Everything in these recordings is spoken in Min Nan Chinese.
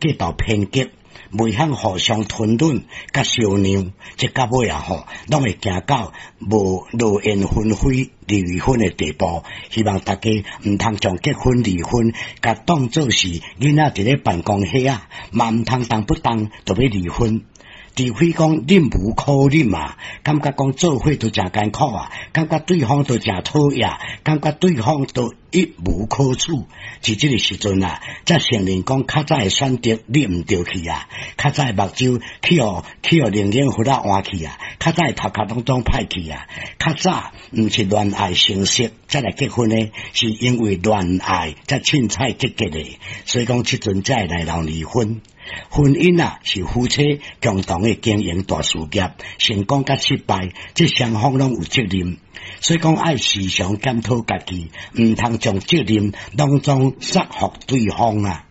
過頭偏激，袂曉互相吞忍佮相讓，這到尾啊吼，攏會行到無落雁紛飛離婚的地步。希望大家毋通將結婚離婚，共當做是囡仔佇咧辦公室啊，嘛毋通動不動就欲離婚。除非講忍無可忍啊，感覺講做伙都誠艱苦啊，感覺對方都誠討厭，感覺對方都一無可取，佇這个時陣啊，才承認講較早的選擇你毋著去啊，較早的目睭去予靈眼佛仔換去啊，較早的頭殼攏總歹去啊，較早毋是戀愛成熟才來結婚的，是因為戀愛才凊彩結結的，所以講這陣才會來鬧離婚。婚姻啊，是夫妻共同的經營大事業，成功佮失敗，這雙方攏有責任。所以講愛時常檢討家己，毋通將責任攏總束予對方啊。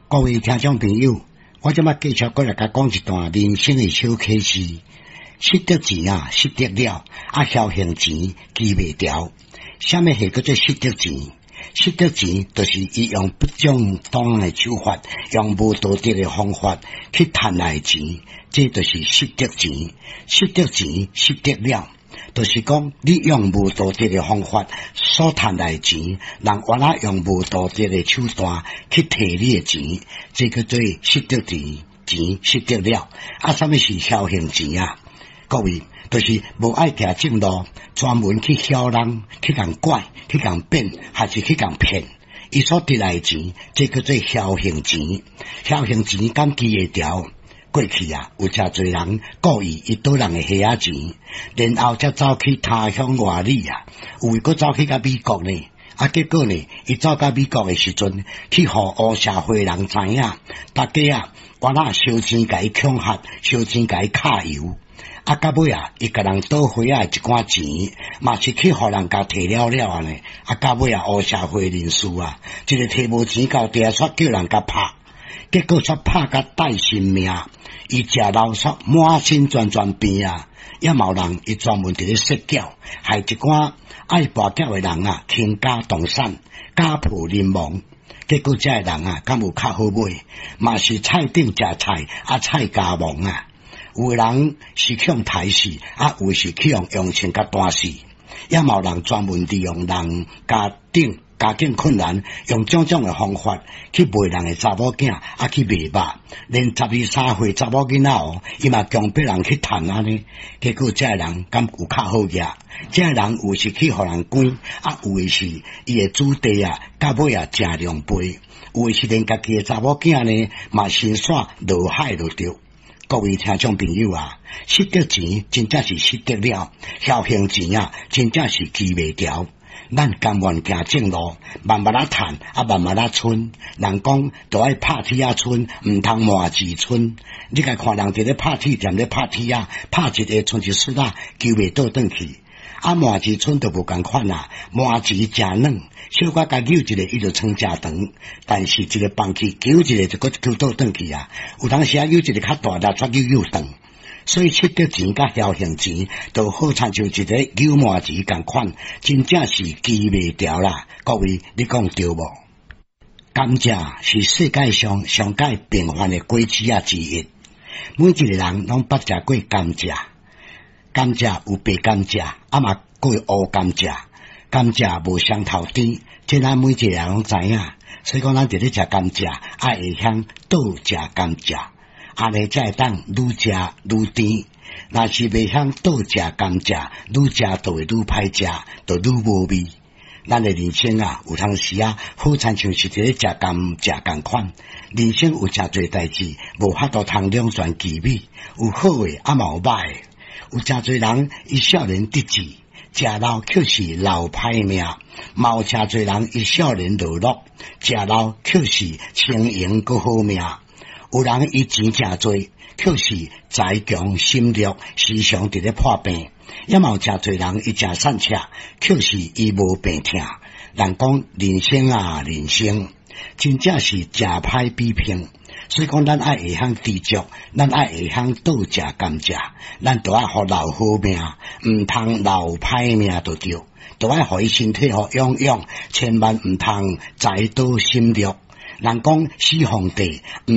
各位聽眾朋友，我這擺繼續閣來共講一段人生的小啟示。失得錢啊，失得了，啊，僥倖錢記袂牢。啥物係叫做失得錢？失得錢就是伊用不正當的手法，用無道德的方法去趁來的錢，這就是失得錢。失得錢，失得了，就是講你用無道德的方法所趁來的錢，人原來用無道德的手段去提你的錢，這叫做失得錢，錢失得了。啊，啥物是僥倖錢啊？各位，就是無愛行正路，專門去囂人，去共拐，去共變，還是去共騙？伊所得來的錢，這叫做僥倖錢。僥倖錢敢記會牢？過去啊，有誠濟人故意伊賭人的蝦仔錢，然後才走去他鄉外里啊，有的閣走去到美國呢。啊，結果呢，伊走到美國的時陣，去予烏社會人知影，大家啊，原來燒錢共伊恐嚇，燒錢共伊揩油。啊，到尾啊，伊共人賭花仔的一寡錢，嘛是去予人共提了了按呢。啊，到尾啊，烏社會人士啊，一个提無錢到地煞叫人共拍，結果煞拍甲帶性命，伊食老煞滿身全全病啊！也嘛有人伊專門佇咧設計，害一寡愛跋筊的人啊，傾家蕩產，家破人亡。結果這个人啊，敢有較好尾？嘛是菜頂食菜，啊菜家亡啊！有的人是去予刣死，啊有的是去予用槍共彈死，也嘛有人專門利用人家頂家境困難，用種種的方法去賣人的查某囝，啊去賣肉，連十二三歲查某囡仔哦，伊嘛強迫人去趁按呢。結果這个人敢有較好額？這个人有是去予人關，啊有的是伊的子弟啊，到尾啊誠狼狽，有的是連家己的查某囝呢，嘛先煞落海就著。各位聽眾朋友啊，失得錢真正是失得了，僥倖錢啊，真正是記袂牢。咱甘願行正路，慢慢仔趁，啊慢慢仔賰。人講都愛拍鐵仔賰，毋通麻糍賰。你共看人佇咧拍鐵店咧拍鐵仔，拍一个賰一絲仔，球袂倒轉去。啊，麻糍賰就無仝款啦，麻糍誠軟，小可共扭一下，伊就賰誠長。但是一个放去，扭一下就閣球倒轉去啊。有當時啊，扭一个較大力，才扭扭長。所以失得錢佮僥倖錢，就好親像一个扭麻糍仝款，真正是記袂牢啦。各位，你講對無？甘蔗是世界上上蓋平凡的果子仔之一，每一個人攏捌食過甘蔗。甘蔗有白甘蔗，啊嘛閣有烏甘蔗。甘蔗無雙頭甜，這咱每一個人攏知影。所以講，咱佇咧食甘蔗，愛會曉倒食甘蔗，按呢才會當愈食愈甜。若是袂曉倒食甘蔗，愈食就會愈歹食，就愈無味。咱的人生啊，有當時啊，好親像是佇咧食甘蔗仝款。人生有誠濟代誌，無法度通兩全其美，有好的，啊嘛有歹的。有誠濟人伊少年得志，食老卻是老歹命；嘛有誠濟人伊少年落落，食老卻是輕盈閣好命。有人伊錢誠濟，卻是財窮心弱，時常佇咧破病；也嘛有誠濟人伊誠散赤，卻是伊無病疼。人講人生啊，人生真正是誠歹比拼。所以講，咱愛會曉知足，咱愛會曉倒食甘蔗，咱都愛予留好命，毋通留歹命就對，都愛予伊身體好養養，千萬毋通財多心弱。人講始皇帝毋